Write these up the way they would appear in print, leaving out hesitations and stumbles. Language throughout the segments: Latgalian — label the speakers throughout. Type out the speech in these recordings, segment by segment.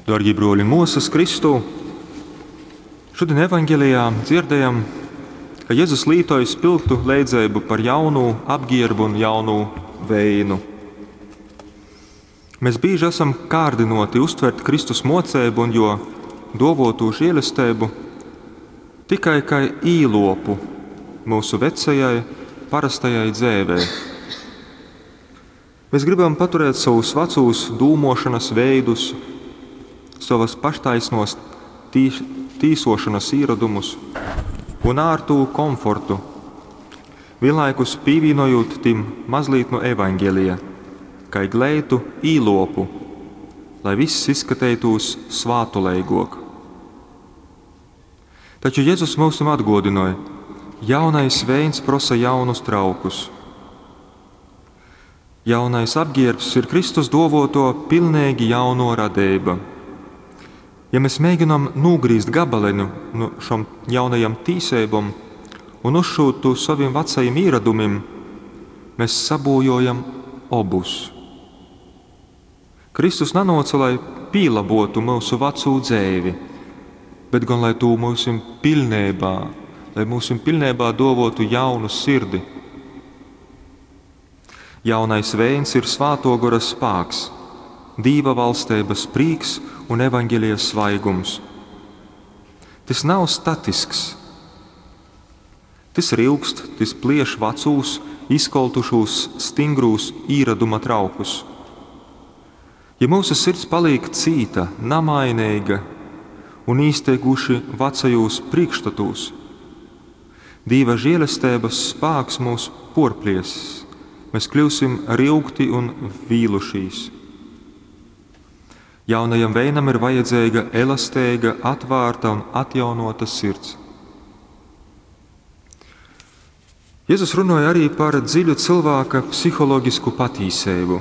Speaker 1: Darbie broļi un māsas Kristū, šodien evaņgelijā dzirdējam, ka Jēzus lītoja spilgtu leidzeibu par jaunu apģērbu un jaunu veinu. Mēs bieži esam kārdinoti uztvert Kristus mocību un jo dovotu žēlestību tikai kā īlopu mūsu vecajai, parastajai dzēvei. Mēs gribam paturēt savus vecos dūmošanas veidus, savas paštaisnos tīsošanas īradumus un ārtu komfortu, vienlaikus pīvīnojot tim mazliet no evaņģēlija, kai gleitu īlopu, lai viss izskatītos svātuleigok. Taču Jēzus mums atgodināja, jaunais veins prosa jaunus traukus. Jaunais apģērbs ir Kristus dovoto pilnīgi jauno radība. Ja mēs mēģinām nogrīzt gabaleņu no šom jaunajam tīsībām un uzšūt to saviem vecajiem īradumiem, mēs sabojojam obus. Kristus nanoca, lai pīlabotu mūsu veco dzēvi, bet gan lai tū mūsim pilnībā, lai mūsim pilnībā dovotu jaunu sirdi. Jaunais veins ir svāto gora spāks, Dīva valstības prīks un evaņģēlijas svaigums. Tas nav statisks. Tas rilkst, tas plieš vecūs, izkoltušos, stingrūs īraduma traukus. Ja mūsu sirds paliek cīta, namainīga un īsteiguši vecajos priekšstatos, Dīva žēlestības spāks mūs porplies, mēs kļūsim rilgti un vīlušīs. Jaunajam veinam ir vajadzīga elastīga, atvērta un atjaunota sirds. Jēzus runāja arī par dziļu cilvēka psiholoģisku patīsību.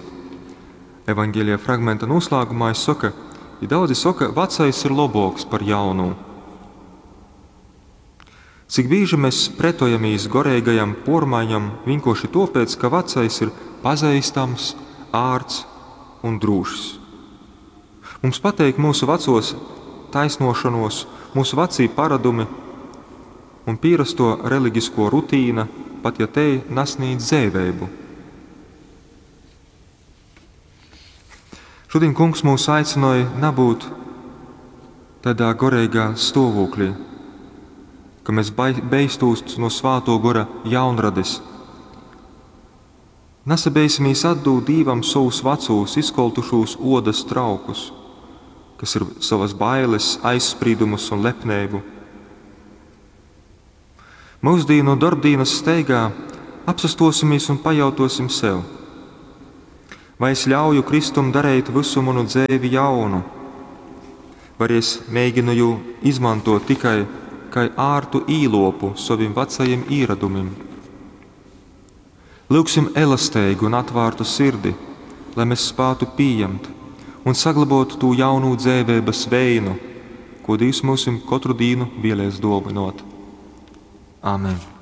Speaker 1: Evanģēlija fragmenta noslēgumā es saka, ja daudzi saka, vecais ir labāks par jaunu. Cik bieži mēs pretojamies gorīgajam pormaiņam vienkārši tāpēc, ka vecais ir pazīstams, ārts un drūšs. Mums pateik mūsu vecos taisnošanos, mūsu vecī paradumi un pierasto reliģisko rutīna, pat ja te nasnīdz dzēvēbu. Šodien kungs mūs aicināja nabūt tādā gorīgā stāvoklī, ka mēs beistūst no svāto gora jaunrades. Nesabeisimies atdūt Dīvam savus vecos, izkoltušos odas traukus, kas ir savas bailes, aizspriedumus un lepnību. Mūsdīnu darbdīnas steigā apsastosimies un pajautosim sev, vai es ļauju Kristum darīt visu manu dzēvi jaunu, vai es mēģinu jū izmantot tikai kā ārtu īlopu saviem vecajiem īradumiem. Lūksim elastīgu un atvērtu sirdi, lai mēs spētu pieņemt un saglabot to jaunu dzēvības veinu, ko Dievs mums katru dienu vēlēs dāvinot. Āmen!